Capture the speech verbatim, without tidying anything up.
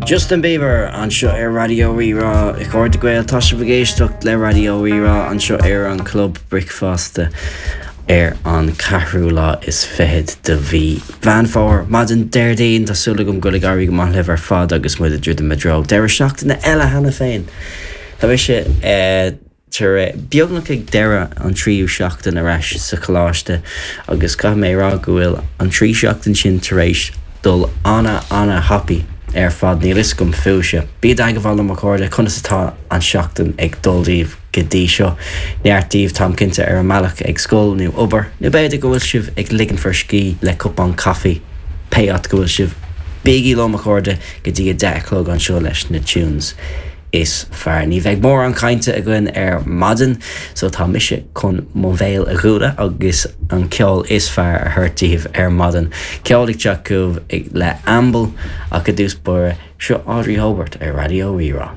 Justin Bieber anseo ar Raidió Rí-Rá a chairde Gael tá sibh ag éisteacht le Raidió Rí-Rá anseo ar an Club Bricfeasta ar an ceathrú lá is fiche de mhí Mheán Fómhair maidin Déardaoin Tá súil agam go bhfuil ag éirí go maith libh ar fad agus muid ag druidim i dtreo deireadh seachtaine eile cheana féin. Tá mise eh, tar beagnach ag deireadh an tríú seachtain ar ais sa choláiste agus caithfidh mé rá go bhfuil an trí seachtain sin tar éis dul ana ana thapaidh ar fad níl a fhios agam fúibhse. Bí i dteagmháil liom a chairde conas atá an seachtain ag dul daoibh go dtí seo. Neart daoibh táim cinnte ar an mbealach ag scoil nó obair, nó b'fhéidir go bhfuil sibh ag ligean bhur scíth le cupán caife pé áit go bhfuil sibh. Bígí liom a chairde go dtí a deich a chlog anseo leis na tunes is fearr. Ní bheidh mórán cainte againn ar maidin, so tá mise chun mo bhéal a dhúnadh agus an ceol is fearr a thabhairt daoibh ar maidin. Ceol ag teacht chugaibh le Amble ach i dtús báire seo Audrey Hobart ar Raidió Rí-Rá.